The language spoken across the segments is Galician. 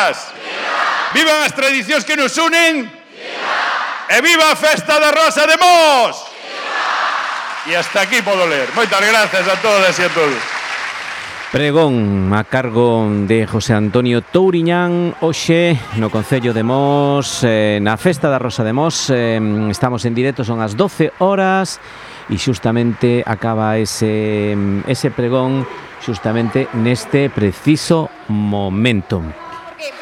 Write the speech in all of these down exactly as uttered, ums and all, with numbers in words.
Rosas! Viva! Vivan as tradicións que nos unen! Viva! E viva a festa da Rosa de Mos! Viva! E hasta aquí podo ler. Moitas grazas a todas e a todos. Pregón a cargo de José Antonio Touriñán hoxe no Concello de Mos, eh, na Festa da Rosa de Mos. eh, Estamos en directo, son as doce horas e xustamente acaba ese, ese pregón xustamente neste preciso momento.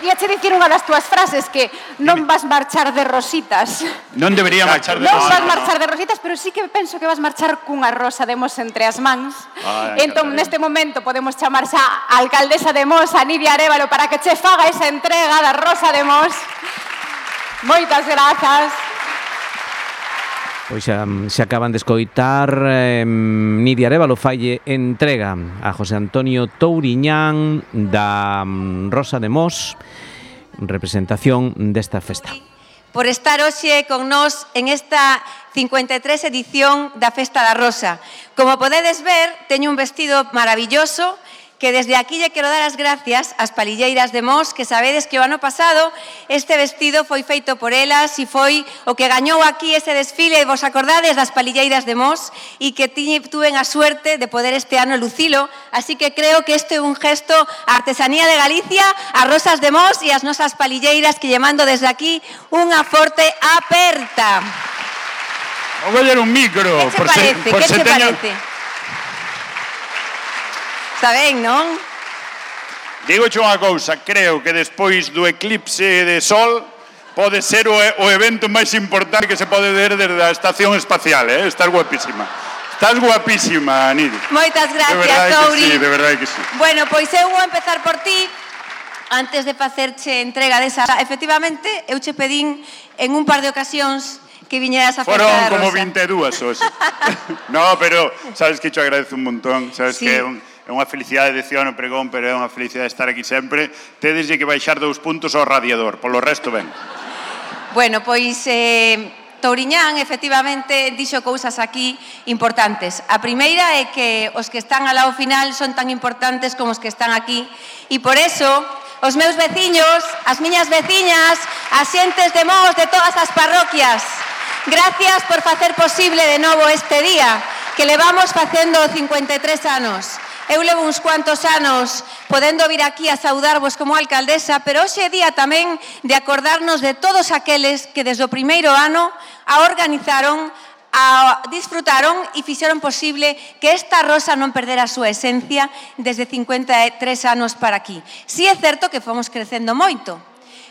Víache dicir unha das túas frases, que non vas marchar de rositas. Non debería marchar de Non rositas. vas marchar de rositas, pero sí que penso que vas marchar cunha rosa de Mos entre as mans. Ai, entón, Catalina. neste momento, podemos chamar xa a alcaldesa de Mos, a Nidia Arévalo, para que che faga esa entrega da Rosa de Mos. Moitas grazas. Pois xa se acaban de escoitar eh, Nidia Arévalo falle entrega a José Antonio Touriñán da Rosa de Mos, representación desta festa. Por estar hoxe con nós en esta cincuenta e tres edición da Festa da Rosa. Como podedes ver, teño un vestido maravilloso que desde aquí lle quero dar as gracias ás palilleiras de Mos, que sabedes que o ano pasado este vestido foi feito por elas e foi o que gañou aquí ese desfile, vos acordades das palilleiras de Mos, e que tuven a suerte de poder este ano lucilo, así que creo que este é un gesto á artesanía de Galicia, as rosas de Mos e as nosas palilleiras, que lle mando desde aquí unha forte aperta. Vou coller un micro. Que te parece? Que te parece? Está ben, non? Digoche unha cousa, creo que despois do eclipse de sol pode ser o, o evento máis importante que se pode ver desde a estación espacial, eh? Estás guapísima. Estás guapísima, Nidia. Moitas gracias, De verdade que sí, Touri. de verdade que sí. Bueno, pois eu vou empezar por ti. Antes de facerche entrega desa... Efectivamente, eu che pedín en un par de ocasións que viñeras a Festa Foron da Rosa. como vinte e dúas hoxe. No, pero sabes que te agradezo un montón. Sabes Sí. que é un... É unha felicidade de Ciano Pregón, pero é unha felicidade estar aquí sempre. Tedeslle que baixar dous puntos ao radiador, polo resto ben. Bueno, pois eh, Touriñán efectivamente dixo cousas aquí importantes. A primeira é que os que están ao lado final son tan importantes como os que están aquí, e por eso os meus veciños, as miñas veciñas, as xentes de Mos de todas as parroquias, gracias por facer posible de novo este día que levamos facendo cincuenta e tres anos. Eu levo uns cuantos anos podendo vir aquí a saudarvos como alcaldesa, pero hoxe é día tamén de acordarnos de todos aqueles que desde o primeiro ano a organizaron, a disfrutaron e fixeron posible que esta rosa non perdera a súa esencia desde cincuenta e tres anos para aquí. Si é certo que fomos crecendo moito.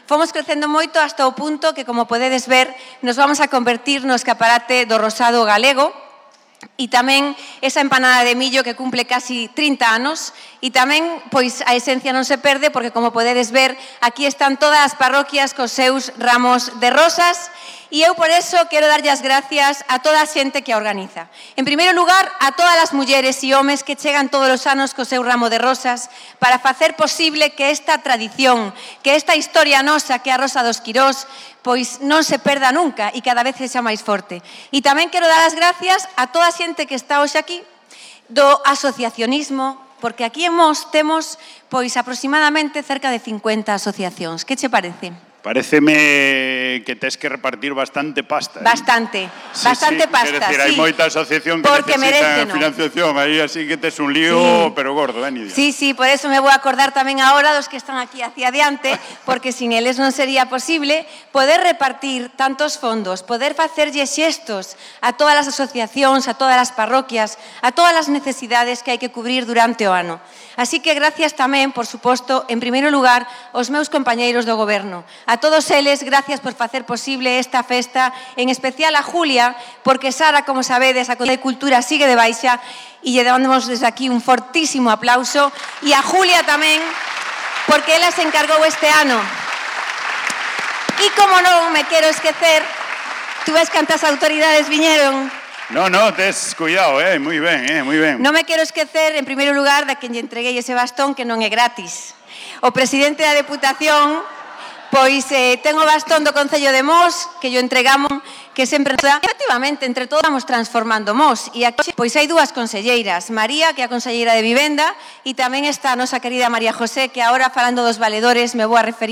Fomos crecendo moito hasta o punto que, como podedes ver, nos vamos a convertir no escaparate do rosado galego, e tamén esa empanada de millo que cumple casi trinta anos, e tamén pois a esencia non se perde, porque como podedes ver aquí están todas as parroquias cos seus ramos de rosas, e eu por eso quero darlle as gracias a toda a xente que a organiza. En primeiro lugar, a todas as mulleres e homes que chegan todos os anos co seu ramo de rosas para facer posible que esta tradición, que esta historia nosa, que é a Rosa dos Quirós, pois non se perda nunca e cada vez sexa máis forte. E tamén quero dar as gracias a toda a xente que está hoxe aquí do asociacionismo, porque aquí en Mos temos pois aproximadamente cerca de cincuenta asociacións. Que che parece? Paréceme que tes que repartir bastante pasta. ¿eh? Bastante, Sí, bastante sí, pasta, quero decir, sí. hai moita asociación que Porque necesita meréceno. financiación, aí así que tes un lío, Sí. pero gordo, eh, Nidia? Sí, sí, por eso me vou a acordar tamén agora dos que están aquí hacia adiante, porque sin eles non sería posible poder repartir tantos fondos, poder facerlle xestos a todas as asociacións, a todas as parroquias, a todas as necesidades que hai que cubrir durante o ano. Así que gracias tamén, por suposto, en primeiro lugar, aos meus compañeiros do goberno. A todos eles, gracias por facer posible esta festa, en especial a Julia, porque Sara, como sabedes, a Consellería de Cultura sigue de baixa, e lle damos desde aquí un fortísimo aplauso, e a Julia tamén, porque ela se encargou este ano. E como non me quero esquecer, tú ves cantas autoridades viñeron. No, no, tes cuidado, eh, moi ben, eh, moi ben. Non me quero esquecer, en primeiro lugar, da quen lle entreguei ese bastón, que non é gratis. O presidente da Deputación, pois eh, ten o bastón do Concello de Mos, que yo entregamos, que sempre... Efectivamente, entre todos vamos transformando Mos. E aquí, pois hai dúas conselleiras, María, que é a conselleira de Vivenda, e tamén está a nosa querida María José, que agora, falando dos valedores, me vou a referir